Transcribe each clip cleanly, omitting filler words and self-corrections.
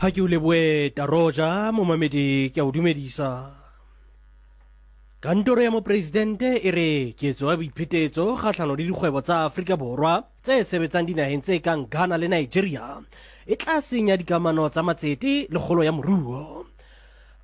Ha ke o leboe Taroja, momamedi ke a o dumedisa. Kantoro ya mopresidente e re ketso ya boiphetetso kgahlano le dikgwebo tsa Afrika Borwa tse sebetsang dinaheng tse kang Ghana le Nigeria e tla senya dikamano tsa matsete le kgolo ya moruo.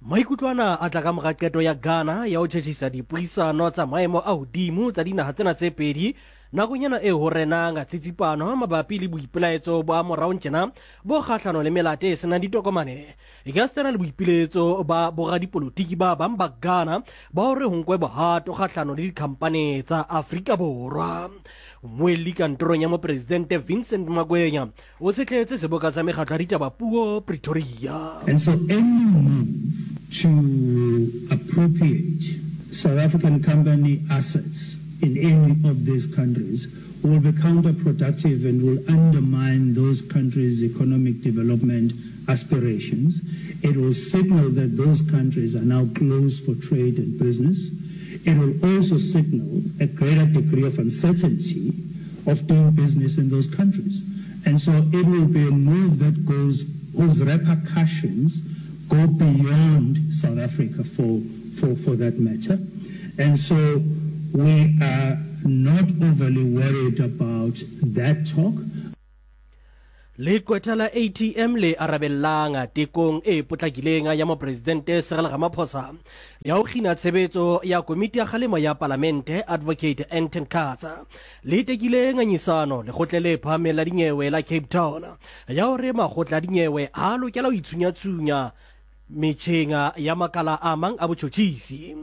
Maikutlo ana a tla ka mora qeto ya Ghana ya ho tjhetjhisa dipuisano tsa maemo a hodimo tsa dinaha tsena tse pedi nakong ena eo ho renang tsitsipano mabapi le boipelaetso ba moraong tjena bo kgahlano le melate e senang ditokomane ekasitana le boipiletso ba boradipolotiki ba bang ba Ghana ba hore ho nkwe bohato kgahlano le dikhampane tsa Afrika Borwa. Mmuelli kantorong ya mopresidente Vincent Magwenya o tshetletse seboka sa mekgatlo ya ditaba puo Pretoria. And so any move to appropriate South African company assets in any of these countries will be counterproductive and will undermine those countries' economic development aspirations. It will signal that those countries are now closed for trade and business. It will also signal a greater degree of uncertainty of doing business in those countries. And so it will be a move that goes, whose repercussions go beyond South Africa for, for, for that matter. And so we are not overly worried about that talk. Leqwetha la ATM le arabellang tekong e potlakileng ya Mopresidente Cyril Ramaphosa ya ho kgina tshebetso ya komiti ya kgalemo ya Palamente Advocate Anton Katsa le tekile ngangisano lekgotleng le phahameng la dinyewe la Cape Town ya hore makgotla a dinyewe ha a lokela ho itshunyatsunya metjheng ya makala a mang a botjhotjhisi.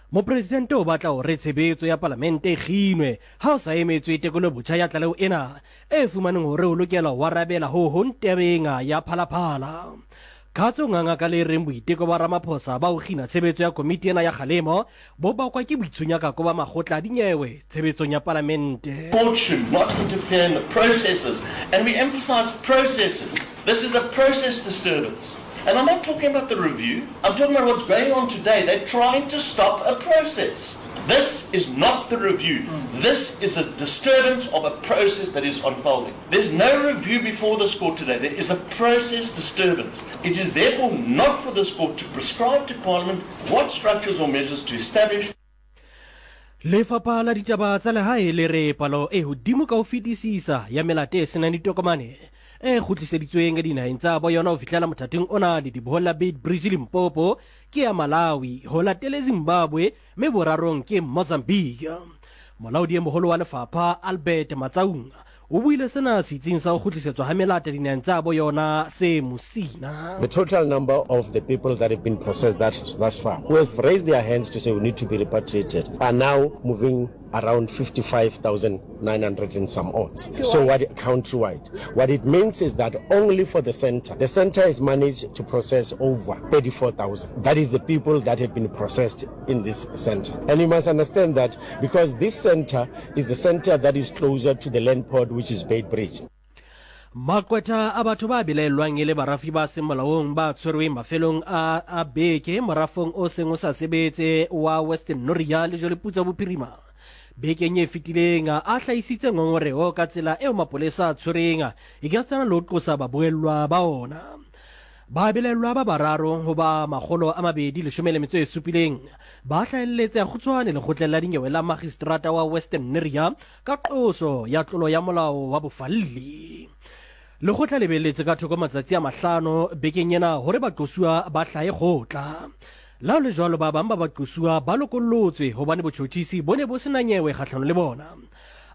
Mopresidente o batla hore tshebetso ya palamente e kginwe ha ho sa emetswe tekolobotjha ya tlaleho ena e fumaneng hore o lokela ho arabela ho hong tabeng ya Phalaphala. Katso o nganga ka le reng boiteko ba Ramaphosa ba ho kgina tshebetso ya komiti ena ya kgalemo bo bakwa ke boitshunyakako ba makgotla a dinyewe tshebetsong ya palamente. Court should not interfere in the processes, and we emphasize processes. This is a process disturbance. And I'm not talking about the review. I'm talking about what's going on today. They're trying to stop a process. This is not the review. This is a disturbance of a process that is unfolding. There's no review before this court today. There is a process disturbance. It is therefore not for this court to prescribe to Parliament what structures or measures to establish. Lefapha la ditaba tsa lehae le re palo e hodimo ka ho fetisisa ya melate e senang ditokomane e kgutliseditsweng dinaheng tsa bo yona ho fihlela mothating ona ledibohong la Beitbridge Limpopo ke ya Malawi ho latele Zimbabwe mme borarong ke Mozambique. Molaodi e moholo wa lefapha Albert Matsaung o buile sena setsing sa ho kgutlisetswa ha melata dinaheng tsa bo yona se Musina. The total number of the people that have been processed thus, thus far, who have raised their hands to say we need to be repatriated, are now moving around 55,900 and some odds. So what countrywide? What it means is that only for the center, the center has managed to process over 34,000. That is the people that have been processed in this center. And you must understand that because this center is the center that is closer to the land port, which is Beitbridge. Maqwetha a batho ba belaellwang e le barafi ba seng molaong ba tshwerweng mafelong a a beke morafong o seng o sa sebetse wa Western Noria le Jwaleputswa Bophirima bekeng e fetileng a hlahisitse ngongoreho ka tsela eo mapolesa a tshwereng ekasitana le ho qosa babuellwa ba ona. Ba belaellwa ba bararo ho ba 217 ba hlahelletse a kgutshwane lekgotleng la dinyewe la magistrata wa Western Neria ka qoso ya tlolo ya molao wa bofalli. Lekgotla le beeletse ka thoko matsatsi a mahlano bekeng ena hore baqosuwa ba hlahe kgotla. La ho le jwalo ba bang ba baqosuwa ba lokollotswe hobane botjhotjhisi bo ne bo se na nyewe kgahlano le bona.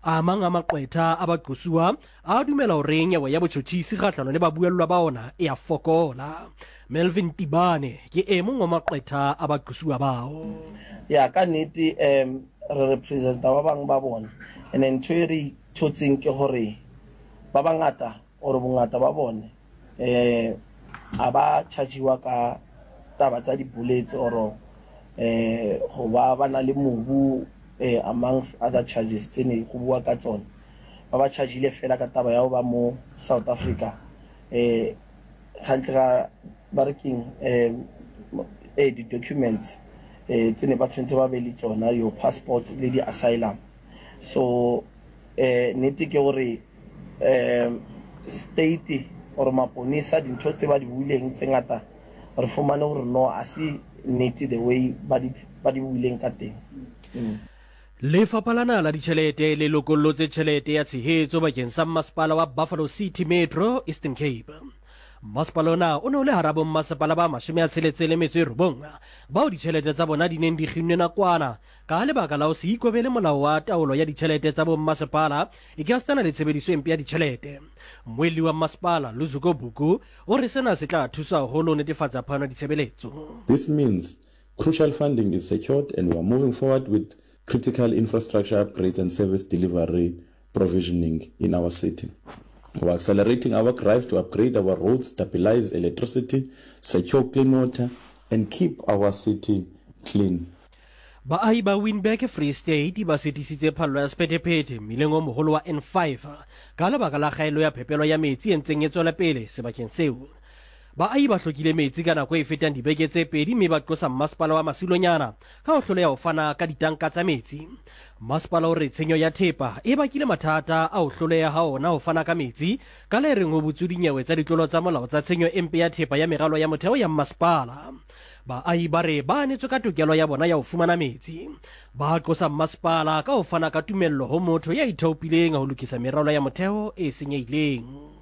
A mang a maqwetha a baqosuwa a dumela hore nyewe ya botjhotjhisi kgahlano le babuellwa ba ona e a fokola. Melvin Tibane ke e mong wa maqwetha a baqosuwa bao. Ya, ka nnete um re representa ba bang ba bona and ntho e re ithotseng ke gore ba bangata or bongata ba bone um a ba chargiwa ka taba tsa di-bullets or um go ba ba na le mobu um amongst other charges tse ne go bua ka tsone. Ba ba chargile fela ka taba ya go ba mo South Africa um gantle ga ba re keng um ee di-documents um tse ne ba tshwanetse ba be le tsona, your passports le di-asylum. So um nnete ke gore um state. or maponesa dintho tse ba di buileng tse ngata re fumane hore no a se nnete the way ba di ba di buileng ka teng. Lefapha la Naha la Ditjhelete le lokollotse tjhelete ya tshehetso bakeng sa Mmasepala wa Buffalo City Metro, Eastern Cape. Mmasepala ona o ne o le hara bommasepala ba 69 bao ditjhelete tsa bona di neng di kginnwe nakwana ka lebaka la ho se ikobele molao wa taolo ya ditjhelete tsa bommasepala ekasitana le tshebediso e mpe ya ditjhelete. Mmuelli wa mmasepala, Luzuko Buku, o re sena se tla thusa haholo ho netefatsa phano ya ditshebeletso. This means crucial funding is secured and we are moving forward with critical infrastructure upgrades and service delivery provisioning in our city. We are accelerating our drive to upgrade our roads, stabilize electricity, secure clean water and keep our city clean. Baahi ba Winburg, Free State ba sitisitse phallo ya sephethephethe mmileng o moholo wa N5 ka lebaka la kgaello ya phepelo ya metsi e ntseng e tswela pele sebakeng seo. Baahi ba hlokile metsi ka nako e fetang dibeke tse pedi mme ba qosa mmasepala wa Masilonyana ka ho hloleha ho fana ka ditanka tsa metsi. Mmasepala o re tshenyo ya thepa e bakile mathata a ho hloleha ha ona ho fana ka metsi ka le reng ho butswe dinyewe tsa ditlolo tsa molao tsa tshenyo e mpe ya thepa ya meralo ya motheo ya mmasepala. Baahi ba re ba anetswe ka tokelo ya bona ya ho fumana metsi. Ba qosa mmasepala ka ho fana ka tumello ho motho ya ithaopileng ho lokisa meralo ya motheo e senyehileng.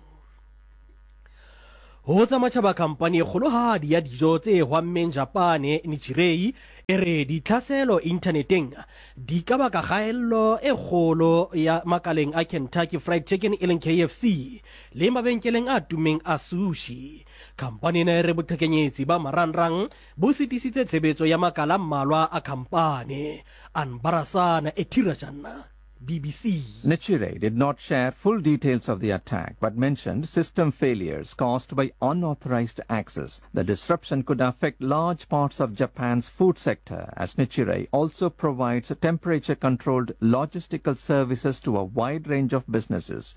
Ho tsa matjhaba khampani e kgolohadi ya dijo tse hwammeng Japane, Nichirei, e re ditlhaselo inthaneteng di ka baka kgaello e kgolo ya makaleng a Kentucky Fried Chicken e leng KFC le mabenkeleng a tummeng a sushi. Khampani ena e re boqhekenyetsi ba marangrang bo sitisitse tshebetso ya makala a mmalwa a khampani. Anbarasan Ethirajan. BBC. Nichirei did not share full details of the attack, but mentioned system failures caused by unauthorized access. The disruption could affect large parts of Japan's food sector, as Nichirei also provides temperature-controlled logistical services to a wide range of businesses.